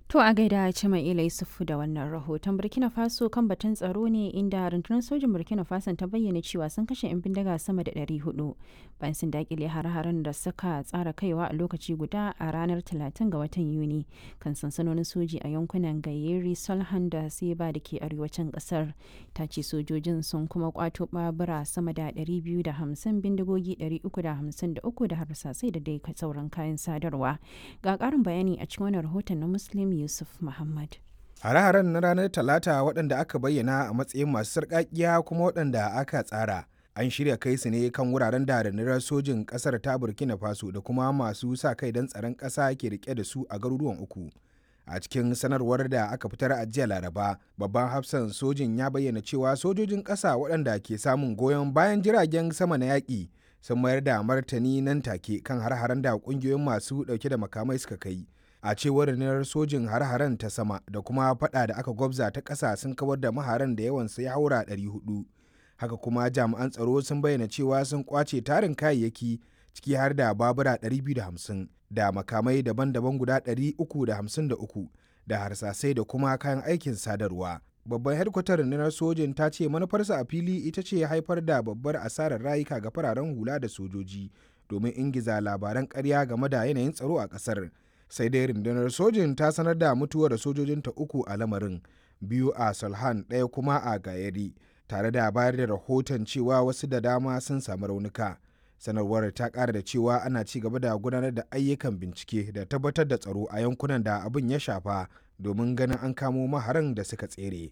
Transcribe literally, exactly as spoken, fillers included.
To a gaida Cima'ila Yusufu da wannan rahoton. Burkina Faso kan batun tsaro ne, inda rundunar sojin Burkina Faso ta bayyana cewa sun kashe 'yan bindiga sama da ɗari huɗu bayan sun dakile har-haren da suka tsara kaiwa a lokaci guda a ranar talatin ga watan Yuni kan sansanonin soji a yankunan Gayeri, Solhan da Seba da ke arewacin kasar. Ta ce sojojin sun kuma kwato babura sama da ɗari biyu da hamsin, bindigogi ɗari uku da hamsin da uku da harsasai da dai sauran kayan sadarwa. Ga ƙarin bayani a cikin wannan rahoton na Muslim Yusuf Muhammad. Hare-haren na ranar Talata, waɗanda aka bayyana a matsayin masu sarƙaƙiya kuma waɗanda aka tsara, an shirya kai su ne kan wuraren da rundunar sojin ƙasar ta Burkina Faso da kuma masu sa kai don tsaron ƙasa ke rike da su a garuruwan uku. A cikin sanarwar da aka fitar a jiya Laraba, babban hafsan sojin ya bayyana cewa sojojin ƙasa waɗanda ke samun goyon bayan jiragen sama na yaƙi sun mayar da martani nan take kan har-haren da ƙungiyoyin masu ɗauke da makamai suka kai. A cewar rundunar sojin, har-haren ta sama da kuma fada da aka gwabza ta ƙasa sun kawar da maharan da yawansu ya haura ɗari huɗu. Haka kuma jami'an tsaro sun bayyana cewa sun kwace tarin kayayyaki, ciki har da babura ɗari biyu da hamsin da makamai daban-daban guda ɗari uku da hamsin da uku da harsasai da kuma kayan aikin sadarwa. Babban hedkwatar rundunar sojin ta ce manufarsa a fili ita ce haifar da babbar asarar rayuka ga fararen hula da sojoji domin ingiza labaran ƙarya game da yanayin tsaro a ƙasar. Sai dai rundunar sojin ta sanar da mutuwar sojojinta uku a lamarin, biyu a Solhan, ɗaya kuma a Gayari, tare da bayar da rahoton cewa wasu da dama sun samu raunuka. Sanarwar ta ƙara da cewa ana ci gaba da gudanar da ayyukan bincike da tabbatar da tsaro a yankunan da abin ya shafa domin ganin an kamo maharan da suka tsere.